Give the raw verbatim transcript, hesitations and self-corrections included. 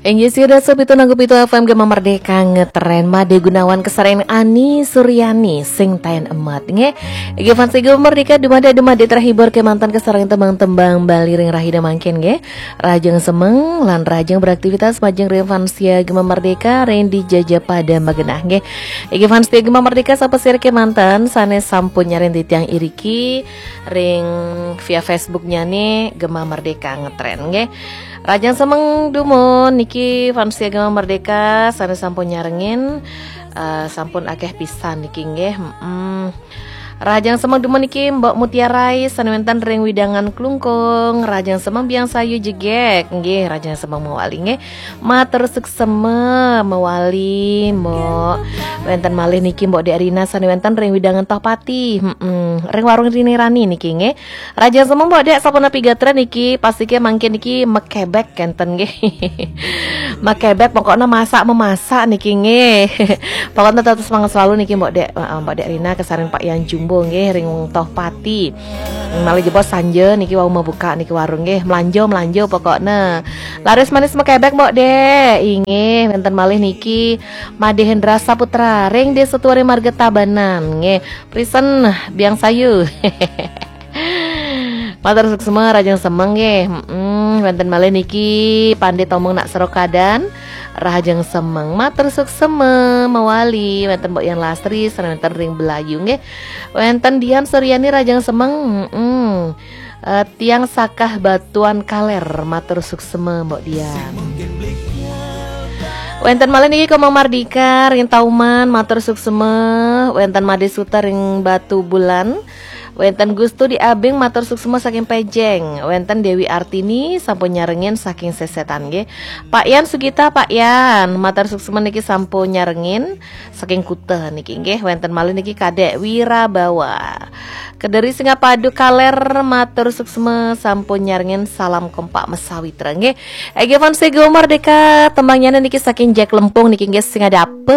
Inggih, sida sepitu nanggu pitu F M Gema Merdeka ngetren Made Gunawan kesarengin Ani Suryani sing taen emet nggih. Inggih, fans Gema Merdeka, dumade-dumade terhibur kemanten kesarengin tembang-tembang Bali ring rahina mangkin nggih. Rahajeng semeng lan rahajeng beraktivitas majeng ring fans Gema Merdeka ring dija pada magenah nggih. Inggih, fans Gema Merdeka, sapasira kemanten sane sampun nyarengin titiang iriki ring via Facebooknyane Gema Merdeka ngetren nggih. Rahajeng semeng dumun niki fans Gema Merdeka sane sampun nyarengin, eh, sampun akeh pisan niki nggih. Mm-mm. Rahajeng semeng dumun niki Mbok Mutiara Rai sane wenten ring wewidangan Klungkung. Rahajeng semeng Biang Sayu Jegek nggih, rahajeng semeng mawali nggih. Matur suksma mawali, Mbok. Wenten malih niki Mbok Dek Rina sane wenten ring wewidangan Tohpati. Mm-mm. Ring warung Rini Rani niki nggih. Rahajeng semeng Mbok Dek, sapunapi gatra niki, pastika mangkin niki makebek kenten nggih. Makebek pokoknya masak memasak niki nggih. Pokoknya tetap semangat selalu niki Mbok Dek, eh, Mbok Dek Rina kesarengin Pak Yan Jumbo nggih ring Tohpati. Malih jebos sanja niki wau mabuka niki warung nggih. Mlanjo, mlanjo pokoknya. Laris manis makebek Mbok Dek. Inggih, wenten malih niki Made Hendra Saputra ring Desa Tuari Marga Tabanan nggih. Prisen Biang Sayu. Matur suksma, rahajeng semeng nggih. Mm-mm, wenten malih niki Pande Tomong Nak Serokadan. Rahajeng semeng, matur suksma mawali. Wenten Mbok Yan Lastri sane wenten ring Belayu nggih. Wenten Dian Suryani, rahajeng semeng. Mm-mm. Eh, tiang Sakah Batuan Kaler, matur suksma Mbok Dian. Wenten malih niki Komang Mardika ring Tauman, matur suksma. Wenten Made Suta ring Batu Bulan. Wenten Gustu di Abing, matur suksma saking Pejeng. Wenten Dewi Artini sampun nyarengin saking Sesetan nggih. Pak Yan Sugita, Pak Yan, matur suksma niki sampun nyarengin saking Kuta niki nggih. Wenten malih niki Kadek Wirabawa. Kederi Singapadu Kaler, matur suksma sampun nyarengin, salam kompak mesawitra nggih. Ege fans Gema Merdeka, tembangnyane niki saking Jack Lempung niki nggih, sing ada apa?